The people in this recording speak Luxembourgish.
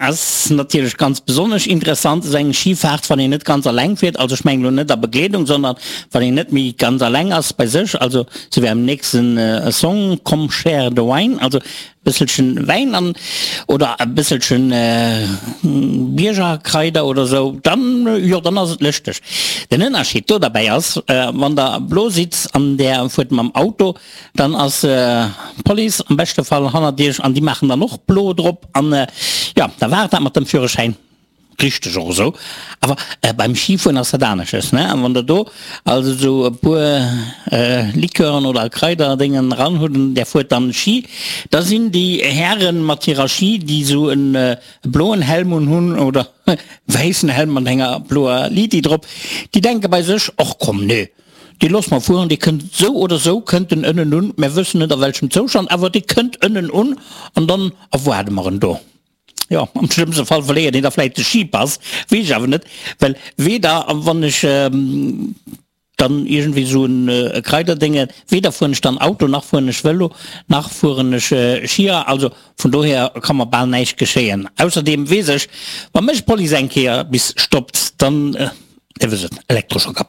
Ass natierlech ganz besonnesch interessant esou eng Skifaart, wann een net ganz alleng fiert, also ech mengen elo net a Begleedung, sondern wann een net méi ganz alleng ass bei sech, also sou wéi am nächsten Song Come share the wine, also e bësselchen Wäin an oder e bësselchen Biergerkraider oder sou, dann jo, dann ass et lëschteg. Den Ënnerscheed do derbäi ass, wann der blo sidd an där fuert mam Auto, Dann ass d'Police am beschte Fall hannert iech an déi maachen dann och blo drop an jo, da war et dat mat dem Führerschäin. Richteg och esou. Awer beim Schifueren ass dat anesches, ne? An wann der do also esou e puer Liqueuren oder Kraiderdéngen eran hutt an där fuert dann Schi, da sinn déi Hären mat hirer Schi, déi esou e bloen Helm un hunn oder wäissen Helm mat enger bloer Liti drop, déi denke bei sech, Och komm, nee, Dee loosse mer fueren, dee kënnt esou oder esou kënnt en ënnen un, mär wëssen net a welchem Zoustand, awer dee kënnt ënnen un an dann erwaarde mer en do. Jo, am schlëmmste Fall verléiert een da vläicht de Schipass, weess ech awer net, well weder wann ech dann iergendwéi esou e Kraiderdénge, weder fueren ech dann Auto, nach fueren ech Vëlo, nach fueren ech Schier, also vun dohier ka mer bal näischt geschéien. Ausserdeem weess ech, wa mech d'Police eng Kéier bis stoppt, dann, Dir wësst et, Elektroschocker.